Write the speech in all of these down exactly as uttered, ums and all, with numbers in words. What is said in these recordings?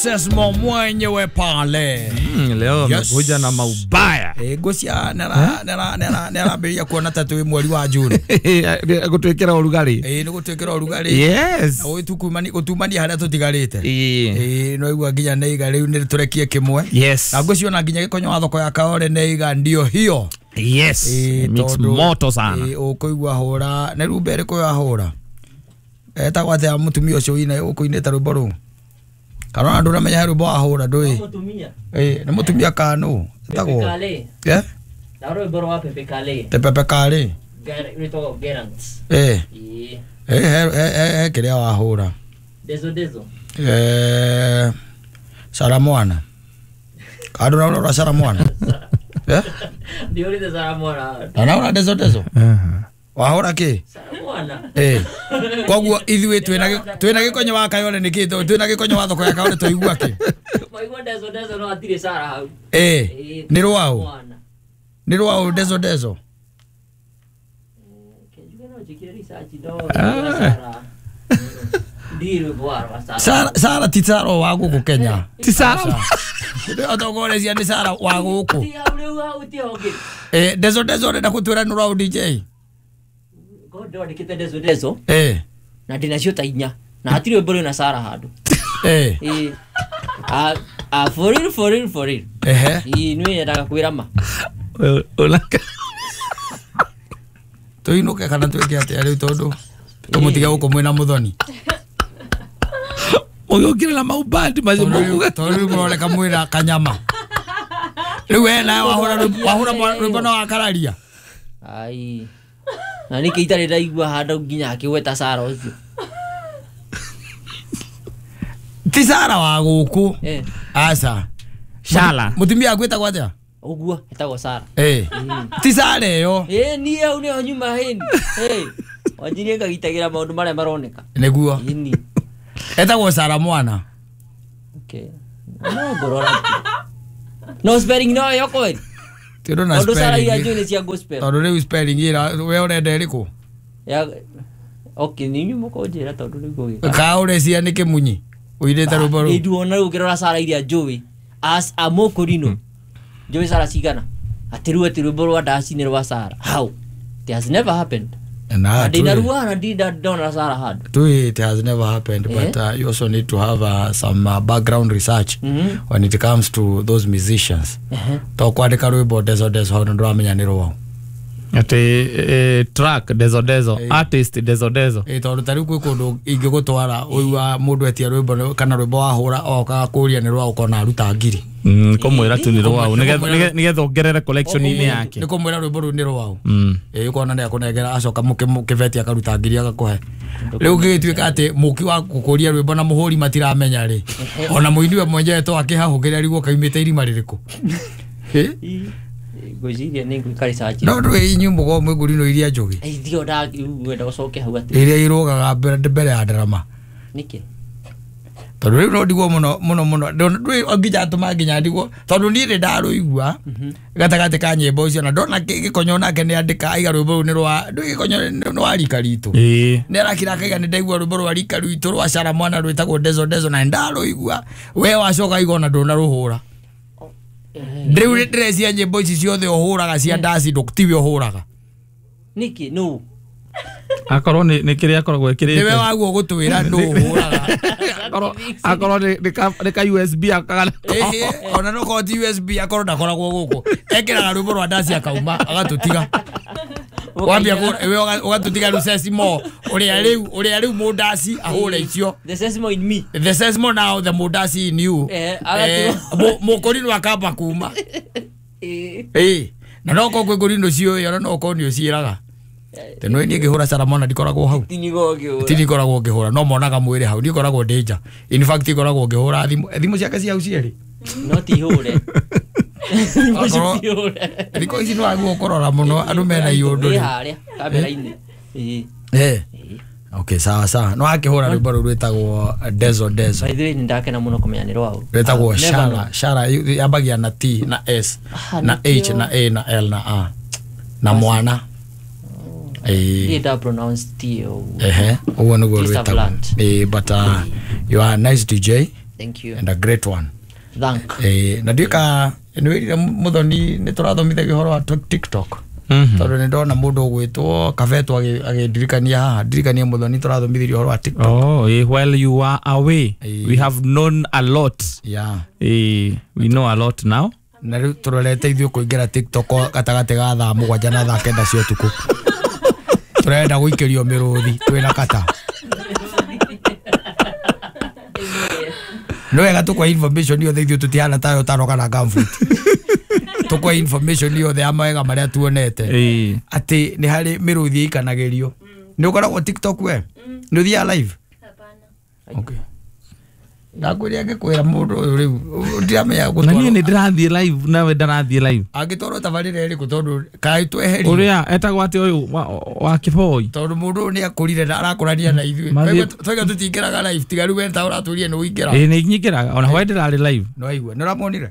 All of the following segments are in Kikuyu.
Sesmo mwenyewe pale. Mm, leo amekuja yes. na maubaya. Eh, gosia nera nera nera nera beria kuona tatu mweri wa June. Gutwikira urugari. Eh, nigutwikira urugari. Yes. Na utukumani gutumani haria tutigarite. Eh, no igua nginya neiga riu ni turekie kimwe. Yes. Na ngociona nginya gikonyo wa thoko ya Kaore neiga ndio hiyo. Yes. E, mix moto sana. Eh, ukuigua hura, ne rumbe iriku ya hura. Etagwo atia mutumia ucio ina ukuinite rwimbo ruu? Kana andu ramenya rwimbo ahura ndui. Mutumia. Eh, ni mutumia kanu. Etagwo. Pepe Kale. Eh? Na rwimbo rwa Pepe Kale. Te Pepe Kale. Rwitagwo Gerants. Eh. Eh. Eh eh eh kiria wahura. Dezo dezo. Eh. Sara mwana. Andu na Sara mwana. Eh? Ndiurite Sara mwana. Na naona dezo dezo. Eh. Wahura ki? Sara mwana. Eh. Koguo ithuĩ twina twina gikonyo wa Kayole niki twina gikonyo wa thoko ya Kayole twaigua ki? Mwaigua dezo dezo no atire Sara hau. Eh. Ni rwao. Ni rwao dezo dezo. Kenjuge no jikire research do Sara. Ndiru bwana Sara. Sara Sara ti Sara wa guku Kenya. Ti Sara. Otogorecia ni Sara wa guku. Ti hau riu hau ti hongi. Eh dezo dezo ndenda gutwira ni rwao D J. Ndwandikite dezo dezo. Eh. Na ndinacio ta inya. Na hatiri rwimbo rwina Sara handu. Eh. Eh. Ah ah for real for real for real. Ehe. Ii nĩ yendaga kwĩra ma. Ulaka. Tuinuke kana twike atia riu tondu tumutige guku mwina muthoni. Ugiukire na maubandi macio mukuga. Tondu riu muroneka mwina kanyama. Riu we nawe wahura wahura rwimbo no wakararia. Ai. Na niki itarĩ ndaigua handũ nginya akĩgweta Sara ũcio. Ti Sara wa gũkũ. Eh. Aca. Shala. Mutumia agwĩtagwo atĩa? Ũguo etagwo Sara. Eh. Ti Sara ĩyo. Eh niĩ hau nĩho nyuma hĩni. Eh. Wanjirie ngagitagĩra maũndũ marĩa maroneka. Nĩguo. Ĩni. Etagwo Sara mwana. Okay. No ngorora. No spelling no ĩyo kweli. Tondũ na spelling. Sara iria spelling. njũĩ nĩ cia gospel. Tondũ rĩu spelling ĩra we ũrenda ĩrĩkũ? Ya okay ni nyumo kũnjĩra tondũ rĩu ngũgĩka. Ka ũrecia nĩ kĩmunyi. Ũirĩte rwĩmbo rũu. Nĩ nduona rĩu ũkĩrora Sara iria njũĩ as a mokorino. Njũĩ Sara cigana. Atĩ rĩu atĩ rwĩmbo rwa ndaci nĩ rwa Sara. How? It has never happened. Na ndinarua na ndinda ndona Sara handũ. Tu it has never happened, eh? But uh, you also need to have uh, some uh, background research mm -hmm. when it comes to those musicians. Uh -huh. To kwandika rwimbo dezo dezo hau nduramenya ni rwao. Ati eh, track dezo dezo, eh, artist dezo dezo. Eh tondu tariu kwi kundu ingigutwara uigua mundu etia rwimbo kana rwimbo wahura oka kuria ni rwao ukona aruta ngiri. Mm kumwira tu ni rwao nigetha ongerere collection ini yake. Ni kumwira rwimbo ruu ni rwao. Mm. Eh ukona ni akunengera acoka mukibeti akaruta ngiri agakuhe. Riu gigituika ati muki wa gukuria rwimbo na muhuri matiramenya ri. Ona muini we mwenyewe to akihahugira riguo kaimite irima ririku. Eh? Ngwĩciria nĩ ngwĩka research. No ndũĩ inyuĩ mũkoragwo mwĩ ngũrinũ iria njũgĩ. Ithuĩ ndagwenda gũcoke hau atĩ. Iria irũgaga mbere mbere ya ndarama. Nĩkĩ? Tondũ rĩu no ndigwo mũno mũno mũno ndũĩ nginya atũma nginya ndigwo tondũ niĩ nĩ ndarũigua gatagatĩ ka nyĩmbo icio na ndona gĩkonyo nake nĩ andĩka aiga rwĩmbo rũu nĩ rwa ndũĩ gĩkonyo nĩ wa rika ritũ. Nĩ arakira akaiga nĩ ndaigua rwĩmbo rwa rika rwitũ rwa Sara mwana rwĩtagwo dezo dezo na nĩ ndarũigua we wacoka aiga ona ndũnarũhũra. Rĩu nĩ ndĩrecia nyĩmbo ici ciothe ũhũraga cia ndaci tiwe ũhũraga. Nĩkĩ nũ? Akorwo nĩ nĩ kĩrĩa akoragwo ekĩrĩte. Nĩwe waguo gũtwĩra nũ ũhũraga. Akorwo akorwo nĩ nĩ ka U S B akagana. Ĩhĩ ona no korwo ti U S B akorwo ndakoragwo gũkũ. Ekĩraga rwĩmbo rwa ndaci akauma agatũtiga. Wambia ũgatũtiga rĩu Sesimo ũrĩa rĩu ũrĩa rĩu mũndaci ahũre icio. The Sesimo in me. The Sesimo now the mũndaci in you. Eh mũkũrinũ akamba kuma. Eh na no korwo kwĩ ngũrinũ ciũĩ ona no korwo nĩ ũciĩraga. Teno niĩ ngĩhũra Sara mwana ndikoragwo hau. Ti ngoragwo ngĩhũra no monaga mwĩrĩ hau niĩ ngoragwo ndĩ nja. In fact ngoragwo ngĩhũra thimũ thimũ ciake cia hau cierĩ. No ti hũre. Thikũ ici nĩ wagwo kũrora mũno andũ mena iũndũ. Ĩ harĩa kamera-inĩ. Eh. Okay sawa sawa. No akĩhũra rwĩmbo rũu rwĩtagwo dezo dezo. By the way nĩ ndakena mũno kũmenya nĩ rwao. Rwĩtagwo Shara. Shara yambagia na T na S na H na A na L na A na mwana. Eh. Did I pronounce T O? Eh, uguo niguo rwĩtagwo. Eh, but uh, you are a nice D J. Thank you. And a great one. Thank. Eh, na ndika nĩ muthoni nĩ tũrathomithagia ũhoro wa TikTok. Tondũ nĩ ndona mũndũ ũgwĩtwo Kabeto agĩndirikania haha, ndirikania muthoni tũrathomithirie ũhoro wa TikTok. Oh, eh, while you are away, eh, we have known a lot. Yeah. Eh, we know a lot now. Na rĩu tũrorete ithuĩ kũingĩra TikTok gatagatĩ ga thaa mũgwanja na thaa kenda cia ũtukũ. Tũrenda gũikĩrio mĩrũthi twĩna kata. No wega tũkwa information yothe ithuĩ tũtihana tayo tano kana gumboot. Tũkwa information yothe ya mawega marĩa tuonete. Atĩ nĩ harĩ mĩrũthi ĩikanagĩrio. Nĩ ũkoragwo TikTok we? Nĩ ũthiaga live? Hapana. Okay. Ndakwĩria ngĩkwĩra mũndũ ũyũ rĩu ndiramenya Na gũtwarwo. niĩ nĩ ndĩrathiĩ live nawe ndarathiĩ live. Angĩtwarwo tabarĩra ĩrĩkũ tondũ kaĩ tweherio. Ũrĩa etagwo atĩ ũyũ wa, wa kĩboi. Tondũ mũndũ ũyũ nĩ akũrire na arakũrania na ithuĩ. Mathiĩ- Twaiga tũtingĩraga live tiga rĩu we ta ũratũrie nĩ ũingĩra. Ĩĩ nĩ nyingĩraga ona hwaĩ ndĩrarĩ live. Nĩ waigua nĩ ũramonire?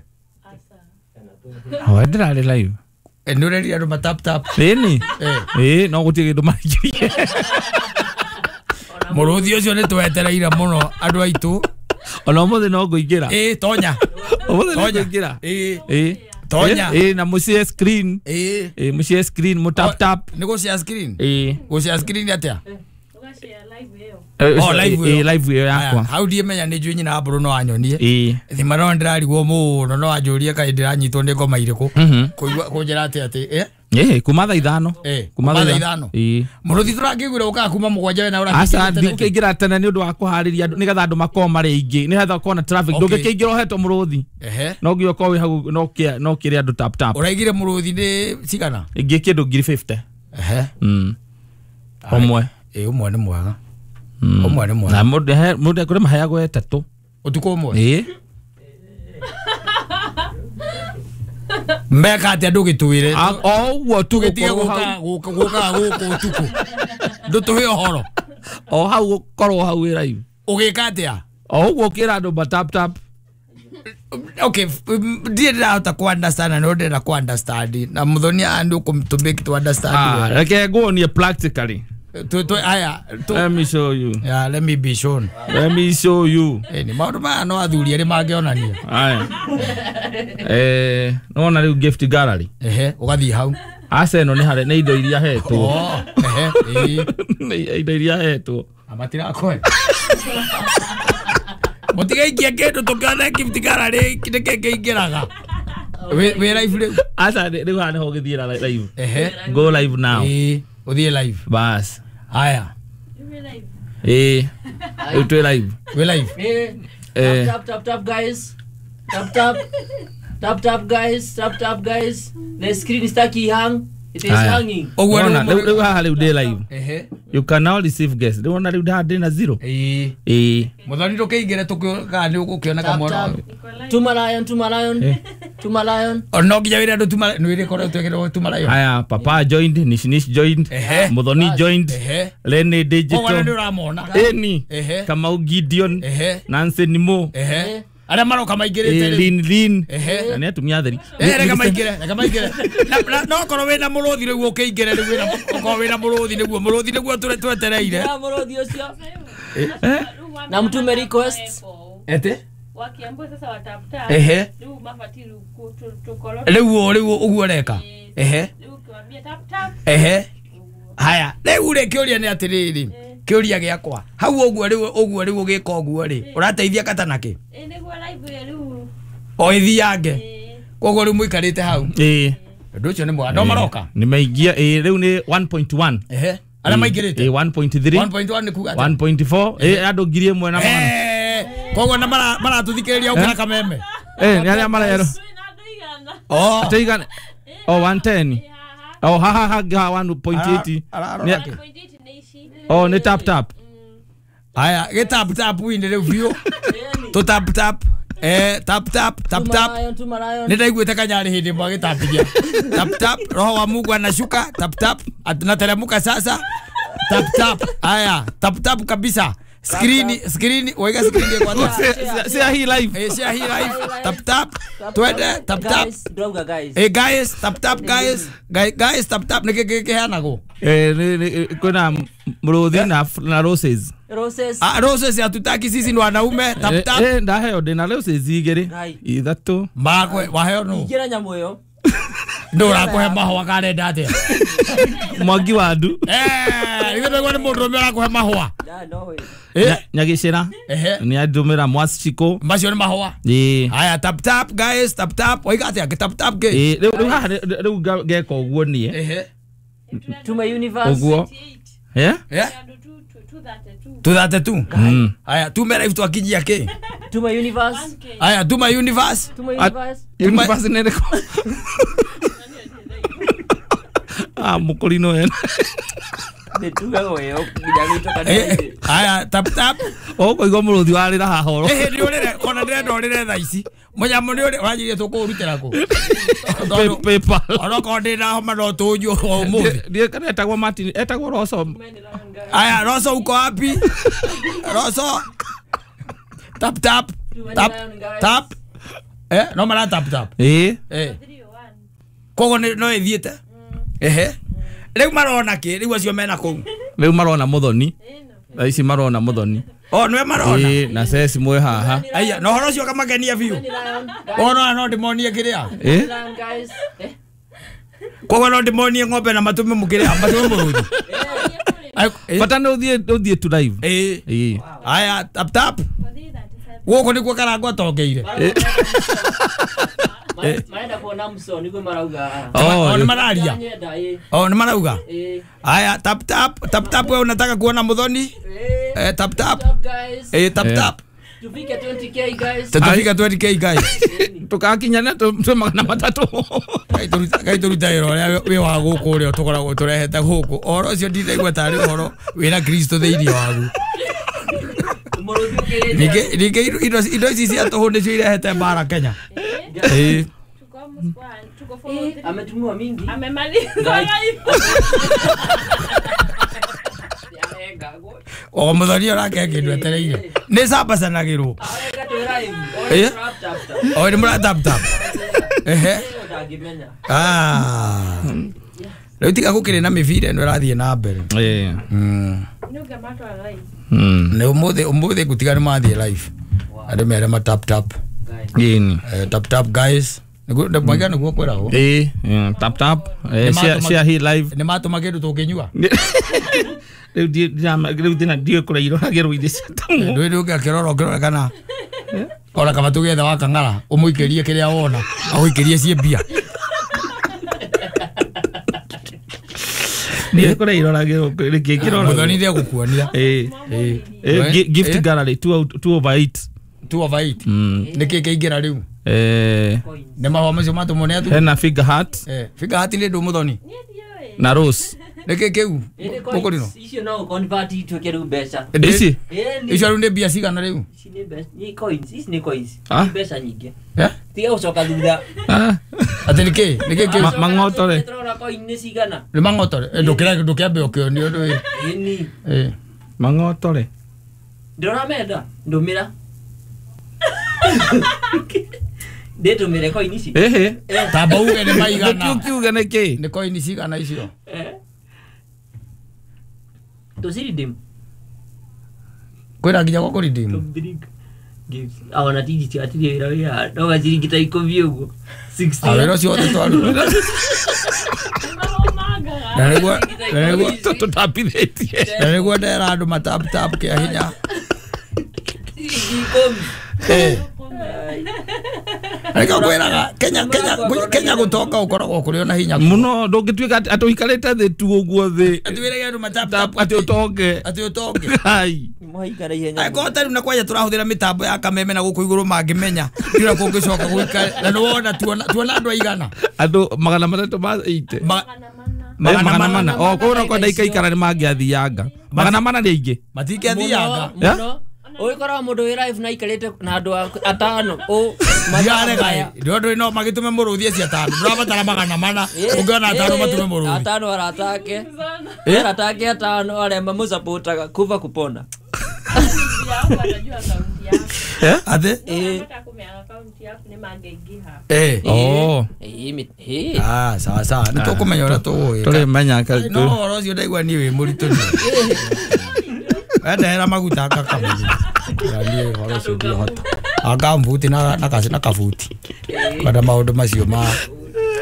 Hwaĩ ndĩrarĩ live. Eh, nĩ ũrerire andũ ma tap tap. Ĩni. Eh. Ĩĩ no gũtirĩ kĩndũ maingĩrie. Mũrũthi ũcio nĩ twetereire mũno andũ aitũ. Ona ũmũthĩ no ngũingĩra. Ĩĩ tonya. Ũmũthĩ nĩ Tonya. ngũingĩra. Ĩĩ. Ĩĩ. Tonya. Ĩĩ na mũshare screen. Ĩĩ. Ĩĩ mũshare screen mũ tap tap. Nĩ gũshare screen? Ĩĩ. Gũshare screen atĩa? Ũgashare live ĩyo. Oh, live ĩyo. Ĩĩ live ĩyo yakwa. Hau ndiĩmenya nĩ njũĩ nyina wa mbũrũ no anyonie. Ĩĩ. Thima no ndĩrarigwo mũno no anjũrie kaĩ ndĩranyitwo nĩ ngoma irĩkũ. Mhm. Kũigua kũnjĩra atĩ atĩ eh Ĩĩ kuma thaa ithano. Eh, Kuma kuma thaa thaa ithano. Ĩĩ. Mũrũthi tũrakĩiguire ũkaga kuma mũgwanja we na Aca ũrakĩingĩra tene. ndikũingĩra tene nĩ ũndũ wa kũharĩria andũ nĩgetha andũ makorwo marĩ aingĩ nĩgetha ũkorwo na traffic. Okay. Ndũngĩkĩingĩra ũhetwo mũrũthi. Ehe. No nginya ũkorwo wĩ hau no kĩa no kĩrĩ andũ tap tap. Ũraigire mũrũthi nĩ cigana? Ingĩ kĩndũ ngiri fifty. Ehe. Mm. Ũmwe. Ĩĩ ũmwe nĩ mwega. Ũmwe nĩ mwega. Na mũndũ he mũndũ kũrĩ maheagwo ĩtatũ. Ũtukũ ũmwe? Ĩĩ. Meka atĩa ndũgĩtwĩre. O ũguo tu Tũgĩtige gũkorwo gũka hau. gũka gũkaga gũkũ ũtukũ. Ndũtũhe ũhoro. O hau gũkorwo hau wĩ live. Ũgĩka atĩa? O ũguo ũkĩra andũ ma tap tap. Okay, ndiĩ ndĩrahota ku understand na no ndĩrenda ku understand na muthoni andũ kũ to make to understand. Ah, reke nguonie practically. Tu tu aya tu Let me show you. Yeah, let me be shown. Let me show you. Eh, ni maũndũ maya no athuri arĩa mangĩonania. Aya. Eh, nona rĩu gift gallery. Ehe, ũgathiĩ hau. Aca ĩno nĩ harĩ nĩ indo iria hetwo. Oh, ehe, ĩĩ. Nĩ indo iria hetwo. Amatirakoe. Mũtigaikie kĩndũ tũkĩone gift gallery nĩkĩ kĩingĩraga. Wĩ wĩ live rĩu. Aca rĩu haha nĩho ũgĩthiĩra live. Ehe. Go live now. Ĩĩ, ũthiĩ live. Bas. Haya. Ĩĩ. Rĩu twĩ live. Wĩ live. Eh. Eh. Tap tap tap guys. Tap tap. Tap tap guys. Tap tap guys. The screen is stuck hang. It is Aya. hanging. Ũguo Wona, rĩu rĩu rĩu haha rĩu ndĩ live. Ehe. You can now receive guests. Rĩu wona rĩu haha ndĩ na zero. Ĩĩ. Ĩĩ. Muthoni ndũkĩingĩre tũkĩona nĩ ũgũkĩoneka Tap mwana. tap. Tuma lion, tuma lion. Eh. Tuma lion. No nginya wĩre andũ tuma nĩ wĩrĩ twĩkĩrwo tuma lion. Haya, Papa joined, Nish Nish joined, Ehe. Muthoni joined, Ehe. Lene Koguo Digital. nĩ ũramona. Eni. Ehe. Kamau Gideon. Ehe. Nancy Nimo. Ehe. Arĩa maroka maingĩrĩte Eh, rĩu. Lin Lin. Ehe. Na nĩ atumia atheri. Eh, reke maingĩre, reke maingĩre. Na- na- no korwo wĩna mũrũthi rĩu ũkĩingĩre rĩu wĩna okorwo wĩna mũrũthi nĩguo mũrũthi nĩguo tũre twetereire. Ya mũrũthi ũcio. Eh? Na mtume requests. Ete? Wakiambiwa sasa watap tap. Ehe. Rĩu mabatiĩ rĩu kũ- tũ- tũkorwo Rĩu rĩu ũguo ũreka. Ehe. rĩu ũkĩwambia tap tap. Ehe. Haya, rĩu rĩ kĩũria nĩ atĩrĩrĩ. Kĩũria gĩakwa. Hau ũguo rĩu ũguo rĩu ũgĩka ũguo rĩ, ũrateithia kata nakĩ? Ĩ nĩguo live ĩyo rĩu. O ĩthiange. Ĩ. Koguo rĩu mũikarĩte hau. Ĩĩ. Ũndũ ũcio nĩ mwega. No maroka. Nĩ maingia ĩĩ rĩu nĩ one point one. Ehe. Arĩa maingĩrĩte. Ĩĩ one point three. one point one nĩ kuga atĩa? one point four. Ĩĩ andũ ngiri ĩmwe na magana. Eh, koguo na mara maratũthikĩrĩria ũkĩra kameme. Eh, nĩ arĩa marerwo. Twĩna andũ igana. Oh. Atĩ igana. Oh, one ten. Ĩ haha. Oh, haha haha one point eight. Ararora Nĩ- kĩ? one point eight nĩ ici. Oh, nĩ tap tap. Haya, gĩ tap tap inĩ rĩu biũ. Tũ tap tap. Eh, tap tap tap Tuma tap. lion, tuma lion. Nĩ ndaiguĩte kanyarĩ hĩndĩ ĩmwe agĩtambithia. Tap tap, roho wa Mungu anashuka, tap tap, anateremka sasa. Tap tap. Haya, tap tap kabisa. Screen screen waiga screen kwa Share share hii live. Eh, share hii live. Tap tap. Twende tap tap. Guys, ndauga guys. Eh guys, tap tap guys. Guys, guys tap tap nĩ kĩ kĩheanagwo? Eh, nĩ- nĩ- kwĩna mũrũthi na na roses. Roses. Ah, roses hatutaki sisi ni wanaume. Tap tap. Eh, ndaheo ndina roses igiri. Ithatu. Makwe waheo no. Igira nyamu iyo. Ndura kuhe mahua karenda atia. Mwangi wa ndu. Eh, ithe ndagwa ni mundu ume arakuhe mahua. Ya no. Eh, Nyagicira. Ni andumira mwaciko. Macio ni mahua. Eh. Haya tap tap guys, tap tap. Oiga atia tap tap ke. Eh, riu riu haha riu ngeka uguo nie. Ehe. Tuma universe. Uguo. Eh? Eh? two thirty-two. Mm. Haya tume live twakinyia ke. Tuma universe. Haya tuma universe. Tuma universe. Universe nĩ ĩrĩkũ? Ah, mukorino ena. Nĩtugaga weo nginya gĩtoka nĩ. Haya tap tap. Ũkũigua mũrũthi warĩra haha oro. Eh, nĩ ũrĩre kona ndĩrenda ũrĩre thaa ici. Mũnyamũ nĩ ũrĩ wanjirie tũkũrutĩra kũ? PayPal. Onokorwo ndĩna homa no tũnyue ũmũthĩ. Ndiĩ kana etagwo Martin, etagwo Roso. Haya Roso uko wapi? Roso. Tap tap. Tap tap. Eh, no mara tap tap. Eh. Eh. Koguo no ĩthiĩte. Ehe. Rĩu marona kĩ? Rĩu acio mena kũu. Rĩu marona Muthoni. Thaa ici marona Muthoni. Oh, nĩwe marona. Eh, na Ceci mwĩ haha. Aya, na ũhoro ũcio ũkamakenia biũ. Oh, no no ndĩmonie kĩrĩa. Eh? Koguo no ndĩmonie ng'ombe na matũme mũkĩrĩa, matũme mũrũthi. Bata nĩ ũthiĩ ũthiĩ tu live. Eh. Eh. Aya, tap tap. Gũkũ nĩkuo Karangũ atongeire. Marenda kuona mso niguo marauga. Oh, nĩ mararia. Oh, nĩ marauga. Aya, tap tap, tap tap wewe unataka kuona Muthoni? Eh, tap tap. Eh, tap tap. Tufike twenty k guys. Tufike twenty k guys. Tukakinyana tu magana matatu. Kai turuta kai turuta iro ũrĩa wĩ wa gũkũ ũrĩa tũkoragwo tũrehete gũkũ. Ũhoro ũcio ndiraigua tarĩ ũhoro wĩna Kristo thĩinĩ wagu. Ningĩ ningĩ indo indo ici cia tũhũ nĩcio irehete mbara Kenya. Eh. Ametumiwa mingi. Amemaliza live. O Muthoni orake kĩndũ etereire. Nĩ cambacanagĩrwo. Eh? O nĩ mũra tap tap. Ehe. Ah. Rĩu tiga gũkĩrĩ na mĩbira ĩno ĩrathiĩ na mbere. Eh. Mm. Mm. Nĩ ũmũthĩ ũmũthĩ ngũtiga nĩ mathiĩ live. Andũ mere ma tap tap. Gini. Eh, tap tap guys. Nĩguo mwaiga nĩguo kwĩragwo. Eh, tap tap. Eh, share share hii live. Nĩ matũma kĩndũ tũngĩnyua. Rĩu rĩu thĩna ndiũĩ kũrĩa iroragĩrwo irĩ cia tũmũ. Ndũĩ ndũngĩakĩrora ũkĩrore kana ona kaba tũgĩetha wa kang'ara ũmũikĩrie kĩrĩa wona agũikĩrie ciĩ mbia. Ndiũĩ kũrĩa iroragĩrwo rĩngĩ ngĩrora. Muthoni nĩegũkuonia. Eh, eh, gift gallery two two over eight. Two over eight. Nĩkĩ kĩingĩra rĩu? Eh, nĩ mahũa macio matũmwo nĩ athuri. Hena figure heart. Eh, figure heart nĩ ndũ Muthoni? Na rose. Nĩkĩ kĩu? Mũkũrino? Icio no convert ituĩke rĩu mbeca. Ici? Icio rĩu nĩ mbia cigana rĩu? Ici nĩ mbeca, nĩ coins, ici nĩ coins. Nĩ mbeca nyingĩ. Eh? Tiga gũcoka thutha. Ah. Atĩ nĩkĩ? Nĩkĩ kĩu? Mang'otore. Tũrona coin nĩ cigana? Nĩ mang'otore. Ndũkĩra ndũkĩambe ũkĩonio ndũĩ. Ĩni. Eh. Mang'otore. Ndĩrona menda, ndũmĩra. Ndĩtũmĩre coin ici. Ehe. Tamba uge nĩ maigana. Ndũkiuge nĩkĩ? Nĩ coin cigana icio? Eh. Tũciredeem. Kwĩna nginya gwa kũredeem. Ona tiji atirĩ wĩra wĩ haha no gaciringi ta ikũmi ũguo. Ah, wĩra ũcio wothe twaruta. Na nĩguo na nĩguo tũtambithĩtie. Na nĩguo ndera andũ matap tap kĩa hinya. Ciringi ikũmi. Eh. Nĩkĩo ngwĩraga Kenya Kenya Kenya gũtonga ũkoragwo kũrĩ ona hinya mũno ndũngĩtuĩka atĩ ũikarĩte thĩ tu ũguo thĩ atĩ wĩrage andũ matap tap atĩ ũtonge atĩ ũtonge. Hai. Mwaikara ihenya. Angĩkorwo ta rĩu na kwanja tũrahũthĩra mĩtambo ya kameme na gũkũ igũrũ mangĩmenya ndira kũngĩcoka gũikare na nĩwona tuona tuona andũ aigana andũ magana matatũ ma eighty magana magana mana o koguo no kwenda ikaikara nĩ mangĩathianga magana mana nĩ aingĩ matingĩathianga mũno. Ũgĩkoraga mũndũ wĩ live na aikarĩte na andũ atano ũ ndiarega ndũ no magĩtũme mũrũthi acio atano ndũrabatara magana mana ũngĩona atano matũme mũrũthi atano arata ake arata ake atano arĩa mamũsupportaga kuva kupona. Eh? Atĩ? Eh. Eh. Oh. Eh. Ah, sawa sawa. Nĩ tũkũmenya ũrĩa tũgũĩka. Tũrĩmenya No ũhoro ũcio ndaigua niĩ wĩ mũritũ. Ndehera maguta akakamuri. Niĩ ũhoro ũcio ndihota. Akambuti na na na kabuti. Kwenda maũndũ macio ma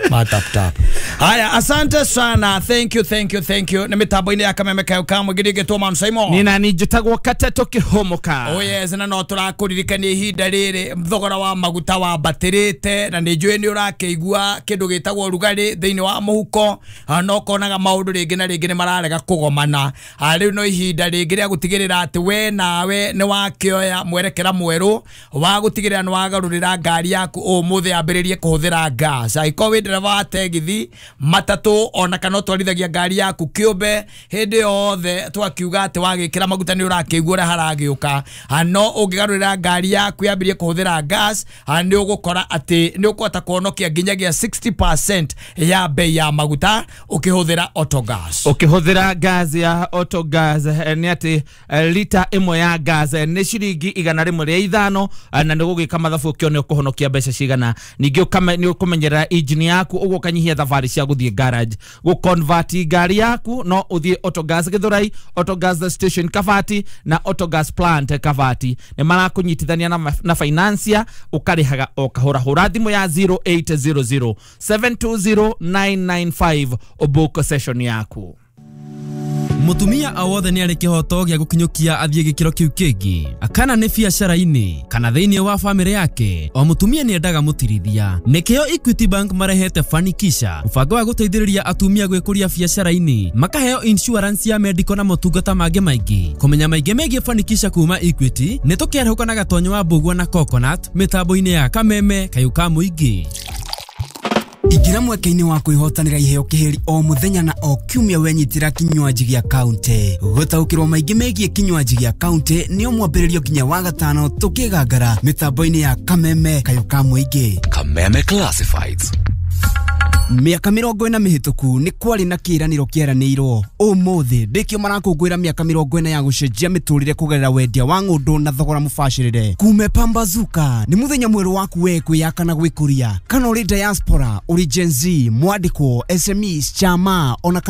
ma tap tap. Haya, asante sana. Thank you, thank you, thank you. Nĩ mĩtambo-inĩ ya Kameme Kayo ka Mũingĩ ndĩngĩtwo Man Simon. Nĩ nani njĩtagwo Kateto Kĩhũmũka. Oh yes, na no tũrakũririkania ihinda rĩrĩ thogora wa maguta wambatĩrĩte na nĩ njũĩ nĩ ũrakĩigua kĩndũ gĩtagwo rugarĩ thĩinĩ wa mũhuko, na ũkonaga maũndũ rĩngĩ na rĩngĩ nĩ mararega kũgomana. Rĩu no ihinda rĩngĩ rĩa gũtigĩrĩra atĩ we nawe nĩ wakĩoya mwerekera mwerũ wa gũtigĩrĩra nĩ wagarũrĩra ngari yaku ũmũthĩ yambĩrĩrie kũhũthĩra gas. Angĩkorwo wĩ ndereba wa tegithi, matatũ ona kana ũtwarithagia ngari yaku kĩũmbe hĩndĩ yothe twakiuga atĩ wagĩkĩra maguta nĩ ũrakĩigua ũrĩa haragĩũka, no ũngĩgarũrĩra ngari yaku yambĩrĩrie kũhũthĩra gas nĩ ũgũkora atĩ nĩ ũkũhota kũhonokia nginyagia sixty percent ya bei ya maguta ũkĩhũthĩra autogas. Ũkĩhũthĩra gas ya autogas nĩ atĩ lita ĩmwe ya gas nĩ ciringi igana rĩmwe rĩa ithano na nĩ gũgĩka mathabu ũkĩone ũkũhonokia mbeca cigana. Ningĩ nĩ ũkũmenyerera engine yaku ũguo ũkanyihia thabarĩ cia gũthiĩ garage. Gũconvert ngari yaku no ũthiĩ Autogas Githurai, Autogas Station Kabati na Autogas Plant Kabati. Nĩ marakũnyitithania na, na financier ũkarĩhaga o kahora. Hũra thimũ ya zero eight zero zero seven two zero nine nine five ũbook session yaku. Mutumia o wothe nĩ arĩ kĩhoto gĩa gũkinyũkia athiĩ gĩkĩro kĩu kĩngĩ kana nĩ biacara-inĩ kana thĩinĩ wa bamĩrĩ yake. O mutumia nĩ endaga mũtirithia. Nĩkĩo Equity Bank marehete Fanikisha, mũbango wa gũteithĩrĩria atumia gwĩkũria biacara-inĩ, makaheo insurance ya medical na motungata mangĩ maingĩ. Kũmenya maingĩ megiĩ Fanikisha kuma Equity nĩ tũkĩarahũka na Gatonyo wa Mbũgua na Coconut mĩtambo-inĩ ya Kameme Kayũ ka Mũingĩ. Ingĩra mweke-inĩ wa kwĩhotanĩra iheo kĩhĩri o mũthenya na o kiumia wenyitĩra kinywaji gĩa kaunti. Gũtaũkĩrwo maingĩ megiĩ kinywaji gĩa kaunti nĩ o mwambĩrĩrio nginya wa gatano tũkĩgangara mĩtambo-inĩ ya Kameme Kayũ ka Mũingĩ. Kameme Classifieds. Mĩaka mĩrongo ĩna mĩhĩtũku nĩ kwarĩ na kĩĩranĩro kĩeranĩirwo. Ũmũthĩ ndĩkĩo marakũngũĩra mĩaka mĩrongo ĩna ya gũcenjia mĩtũrĩre kũgerera wendia wa ng'ũndũ na thogora mũbacĩrĩre. Kume pambazuka nĩ mũthenya mwerũ waku we kwĩyaka na gwĩkũria. Kana ũrĩ diaspora, ũrĩ Gen Z, mwandĩkwo, S M Es, chama ona kana